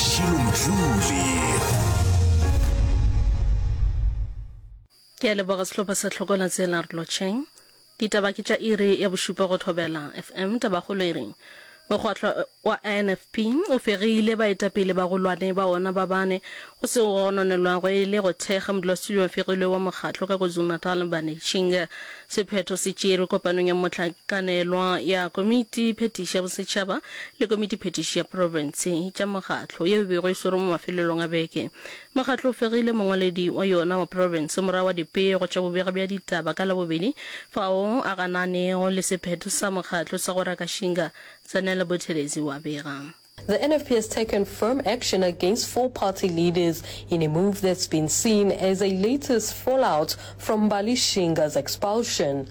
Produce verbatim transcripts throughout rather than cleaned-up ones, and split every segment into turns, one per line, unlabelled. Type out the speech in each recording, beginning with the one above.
Mashilo Mdluli.
Ke a leboga sehlopha sa Hlokola Tsela re lotšheng. Ditaba ke tša iri ya bošupa go Thobela F M. Tabakgolo e re mokgatlo wa N F P o fegile baetapele bagolwane ba ona ba bane go seo go gononelwago e le go thekga modulasetulo wa fegilwe wa mokgatlo ka KwaZulu-Natal Mbane Shinga. Sephetho se tšerwe kopanong ya mohlakanelwa ya Komiti Phethiši ya Bosetšhaba le Komiti Phethiši ya Profense tša mokgatlo yeo e bego e swerwe mo mafelelong a beke. Mokgatlo o fegile mongwaledi wa yona wa profense morago ga dipego tša bobega bja ditaba ka Labobedi fao a gananego le sephetho sa mokgatlo sa go raka Shinga. Zanele Buthelezi o a bega.
The N F P has taken firm action against four party leaders in a move that's been seen as a latest fallout from Mbali Shinga's expulsion.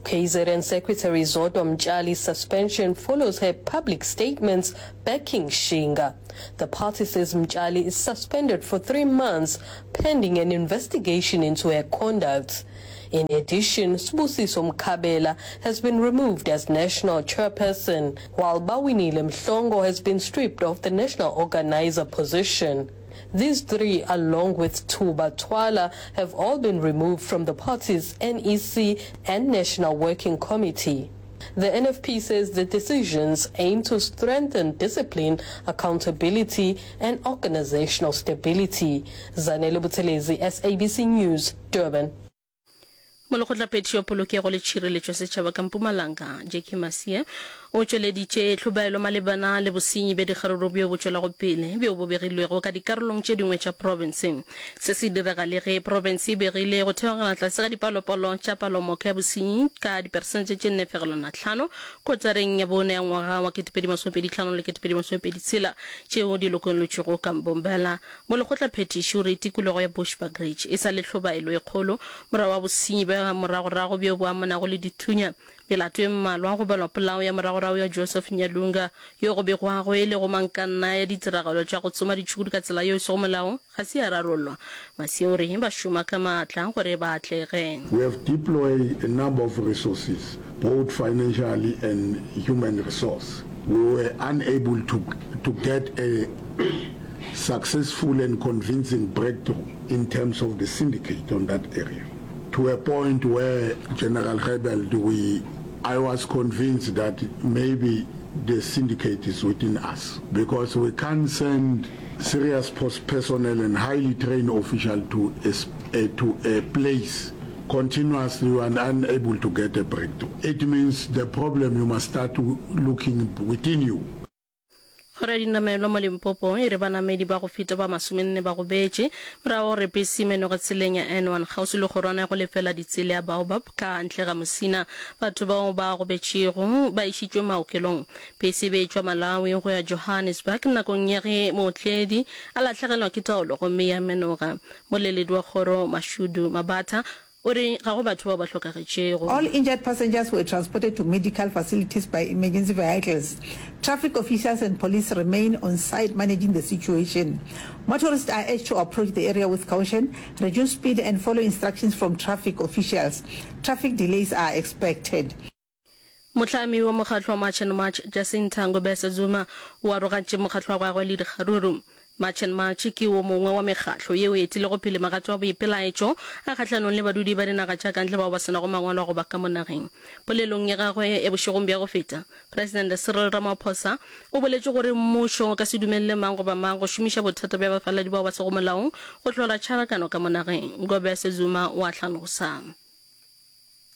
K Z N Secretary Zodwa Mtshali's suspension follows her public statements backing Shinga. The party says Mtshali is suspended for three months pending an investigation into her conduct. In addition, Sibusiso Mkhabela has been removed as national chairperson, while Bawinile Mhlongo has been stripped of the national organizer position. These three, along with Tuba Twala, have all been removed from the party's N E C and National Working Committee. The N F P says the decisions aim to strengthen discipline, accountability, and organizational stability. Zanele Buthelezi, S A B C News, Durban.
Molekgotlaphethiši wa Polokego le Tšhireletšo ya Setšhaba ka Mpumalanga, Jackie Masie, o tšweleditše tlhobaelo malebana le bosenyi bja dikgaruru bjo bo tšwelago pele bjo bo begilwego ka dikarolong tše dingwe tša profense. Se se direga le ge profense e begile go theogela tlase ga dipalopalo tša palomoka ya bosenyi ka diperesente tše nne fegelwana hlano kotareng ya bone ya ngwaga wa ketepedi masomepedi hlano le ketepedi masomepedi tshela tšeo di lokollotšwego ka Mbombela. Molekgotlaphethiši o re tikologo ya Bushbuckridge e sa le tlhobaelo e kgolo morago ga bosenyi bja moragorago bjo bo amanago le dithunya. Melato e mmalwa, go balwa polao ya moragorago ya Joseph Nyalunga, yo go begwago e le gomangkanna ya ditiragalo tša go tsoma ditšhukudu ka tsela yeo e sego molaong, ga se ya rarollwa. Masie o re ba šoma ka maatla gore ba atlege.
We have deploy a number of resources, both financially and human resource. We were unable to, to get a successful and convincing breakthrough in terms of the syndicate on that area. To a point where General Gebeld, we, I was convinced that maybe the syndicate is within us, because we can't send serious personnel and highly trained official to a, a, to a place continuously you are unable to get a breakthrough. It means the problem you must start looking within you.
Kgoro ya dinamelwa mo Limpopo e re banamedi ba go feta ba masomenne ba gobetše morago gore bese e menoge tseleng ya N one kgauswi le kgorwana ya go lefela ditsela ya Baobab ka ntle ga Musina. Batho bao ba gobetšego ba išitšwe maokelong. Bese e be e tšwa Malawi go ya Johannesburg nakong ya ge mootledi a lahlegelwa ke taolo gomme ya menoga. Moleledi wa kgoro Mashudu Mabatha o re ga go batho bao ba hlokagetšego.
All injured passengers were transported to medical facilities by emergency vehicles. Traffic officials and police remain on site managing the situation. Motorists are urged to approach the area with caution, reduce speed and follow instructions from traffic officials. Traffic delays are expected.
Mohlami wa mokgatlo wa March and March, Jacinta Ngobese Zuma, o arogantše mokgatlo wa gagwe le dikgaruru. March and March ke wo mongwe wa mekgatlo yeo e etilego pele magato a boipelaetšo a kgahlanong le badudi ba dinaga tša ka ntle bao ba se nago mangwalo a go ba ka mo nageng. Polelong ya gagwe ya bošegong bja go feta, Presidente Cyril Ramaphosa o boletše gore mmušo o ka se dumelele mang goba mang go šomiša bothata bja bafaladi bao ba sego molaong go hlola tšharakano ka mo nageng. Ngobese Zuma o a hlalosa.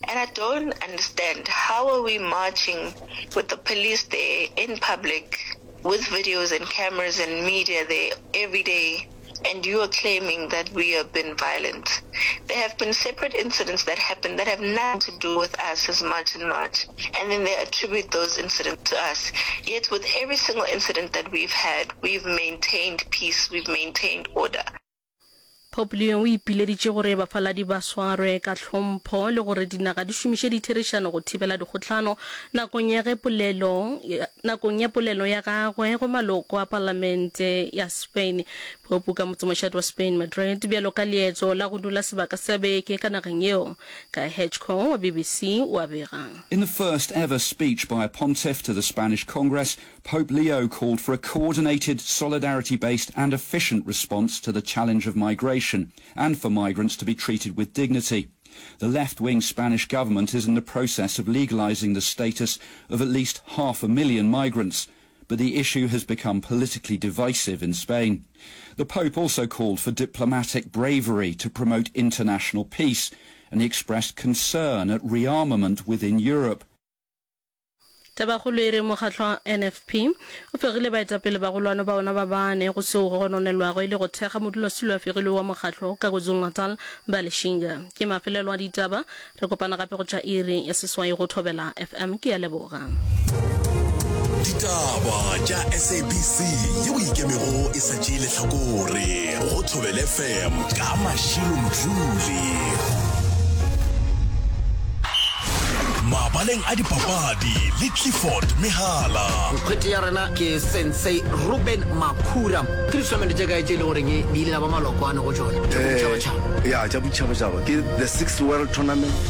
And I don't understand, how are we marching with the police there in public with videos and cameras and media there every day, and you are claiming that we have been violent? There have been separate incidents that happened that have nothing to do with us as March and March, and then they attribute those incidents to us. Yet with every single incident that we've had, we've maintained peace, we've maintained order.
Pope Leo o ipileditše gore bafaladi ba swarwe ka hlompho le gore dinaga di šomiše ditherišano go thibela dikgohlano nakong ya ge polelo nakong ya polelo ya gagwe go maloko a palamente ya Spain. Pope ka motsemošate wa Spain, Madrid, bjalo ka leeto la go dula sebaka sa beke ka nageng yeo. Guy Hedgecoe wa BBC o a bega.
In the first ever speech by a pontiff to the Spanish Congress, Pope Leo called for a coordinated, solidarity-based and efficient response to the challenge of migration and for migrants to be treated with dignity. The left-wing Spanish government is in the process of legalizing the status of at least half a million migrants, but the issue has become politically divisive in Spain. The Pope also called for diplomatic bravery to promote international peace, and he expressed concern at rearmament within Europe.
Tabakgolo e re mokgatlo wa NFP o fegile baetapele bagolwane ba ona ba bane go seo go gononelwago e le go thekga modulasetulo a fegilwe wa mokgatlo ka KwaZulu-Natal Mbali Shinga. Ke mafelelo a ditaba, re kopana gape go tša iri ya seswai go Thobela FM. Ke a leboga.
Ditaba tša SABC yeo e ikemego e sa tšee lehlakore go Thobela FM ka Mashilo Mdluli. Mabaleng a dipapadi le Clifford Mehala.
Nkgwete ya rena ke Sensei Ruben Makhura. Ke di-tournament tše kae tše e le goreng le ile la ba maloko ano go tšona tša boditšhabatšhaba?
Ya, tša boditšhabatšhaba ke the sixth world tournament.